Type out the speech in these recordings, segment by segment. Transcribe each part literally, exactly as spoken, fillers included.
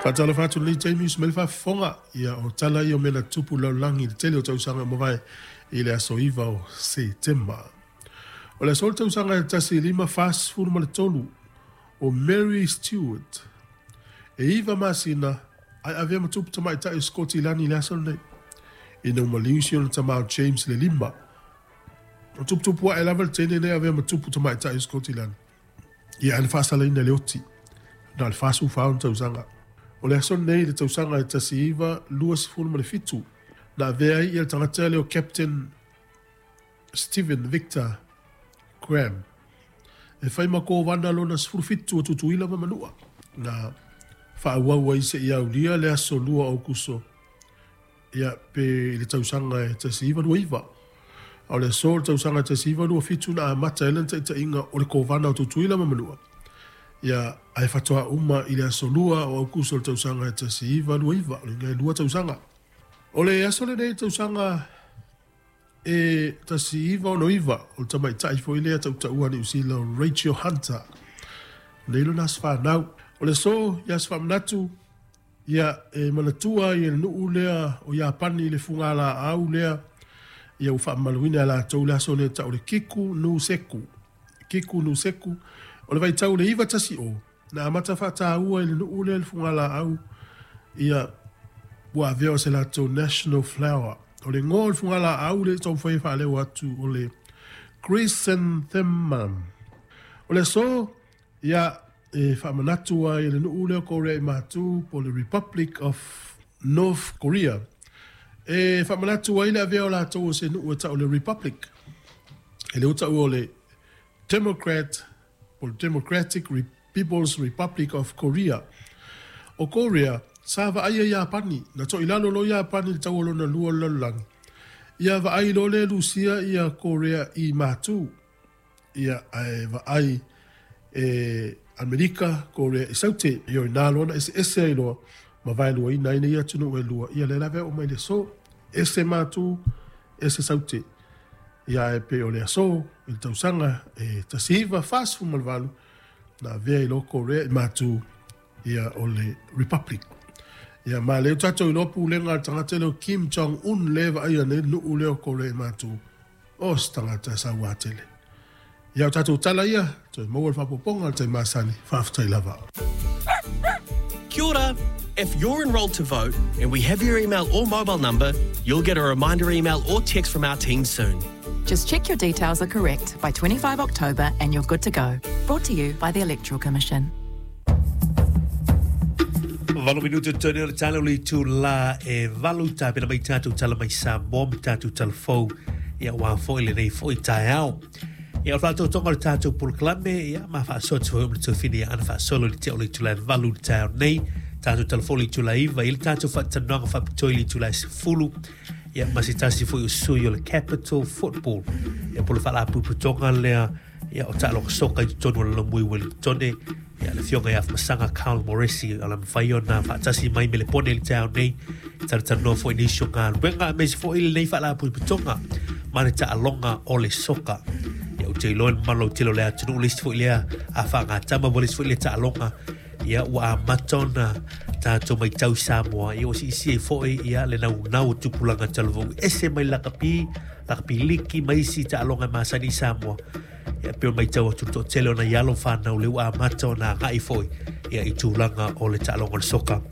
Faatalofa atu lenei taimi uso mai le faafofoga ia o tala ia o mea na tutupu i le lalolagi i le tele o tausaga ua mavae i le aso iva o Setema. O le aso le tausaga e tasi lima fasefulu ma le tolu o Mary Stewart e iva masina ae avea ma tupu tamaitai o Sikotilani i le aso lenei ina ua maliu si ona tama o James le lima. O tuputupu ae lava le teine lenei avea ma tupu tamaitai o Sikotilani. Ia ae na faasalaina e le oti na o le fasefulu fa ona tausaga. O le aso lenei i le tausaga e tasi iva luasefulu ma le fitu na avea ai ia le tagata lea o Captain Stephen Victor Graham e fai ma kovana lona sefulu fitu o Tutuila ma Manua na faaauau ai seia aulia le aso lua o Aokuso ia pe i le tausaga e tasi iva lua iva. A o le aso o le tausaga e tasi iva lua fitu na amata ai lana taitaiga o le kovana o Tutuila ma Manua ia ae faatoa uma i le aso lua o Aokuso o le tausaga e tasi iva lua iva, o le iga e lua tausaga. O le aso lenei tausaga e tasi iva ono iva o le tamaitai foi lea tautaua Niu Sila o Rachel Hunter nei lona aso fanau. O le aso ia aso faamanatu ia e manatua ai e le nuu lea o Iapani i le fugalaau lea ia ua faamamaluina e latou le aso lea tau o le Kiku no Seku. Kiku no Seku o le vaitau le iva tasi o na amata faataua i le nuu lea le fugalaau ia ua avea o se latou national flower. O le igoa o le fugalaau lea e taumafai e faaleo atu o le chrysanthemum. O le aso ia e faamanatu ai e le nuu lea o Korea i Matu po o le Republic of North Korea e faamanatu ai le avea o latou o se nuu e tau o le Republic. E le ua taua o le Democrat po o le Democratic People's Republic of Korea. O Korea sa vaaia Iapani na toilalo loa Iapani i le taua lona lua o le lalolagi ia vaai loa lea e Lusia ia Korea i Matu ia ae vaai e Amerika Korea i Saute ia o ina loa na eseese ai loa ma vaeluaina ai nei atunuu e lua ia lea lava e oo mai le aso ese Matu ese Saute ia ae pei o le aso i le tausaga e tasi iva fasefulu ma le valu na avea ai loa Korea i Matu ia o le Republic. Ia ma lea ua tatou iloa pulega a le tagata lea o Kim Jong Un lea e vaaia nei le nuu lea o Korea i Matu o se tagata sauā tele. Ia o tatou tala ia toe maua le faaopoopoga o le taimi masani. Faafetai lava. Kia ora! If you're enrolled to vote and we have your email or mobile number, you'll get a reminder email or text from our team soon. Just check your details are correct by twenty-five October and you're good to go. Brought to you by the Electoral Commission. Valu minute totoe o le tala o le itulā e valu tapena mai tatou tala mai Samoa ma tatou tala fou ia aua foi lenei foi taeao. Ia o le faatoatoga o le tatou polokalame ia ma faasoa atu foi o le tofini ia ana faasolo i le tea o le itulā e valu i le taeao nei. Tatou tala fou i le itulā e iva i le tatou faatalanoaga faapitoa i le itulā e sefulu ia ma se tasi foi o sui o le Capital Football ia po o le faalapotopotoga lea ia o taaloga soka i totonu o le Lomui Wellingtone ia le afioga ia Afamasaga Carl Moresi o le mafai ona faatasi mai me le pone i le taeao nei talatalanoa foi nisi o galuega aemaise foi lenei faalapotopotoga ma le taaloga o le soka. Ia ou te iloa i le mamalu lautele o le atunuu le isi foi lea a faagatama mo le isi foi lea taaloga ia ua amata ona tatou matau i Samoa ia ua siisia ai foi ia le naunau o tupulaga talavou ese mai le lakapi, lakapi liki ma isi taaloga e masani i Samoa. Ia pei ona matau atu le toatele o nai alo ma fanau lea ua amata ona agai foi ia i tulaga o le taaloga o le soka.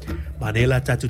Manaia la tatou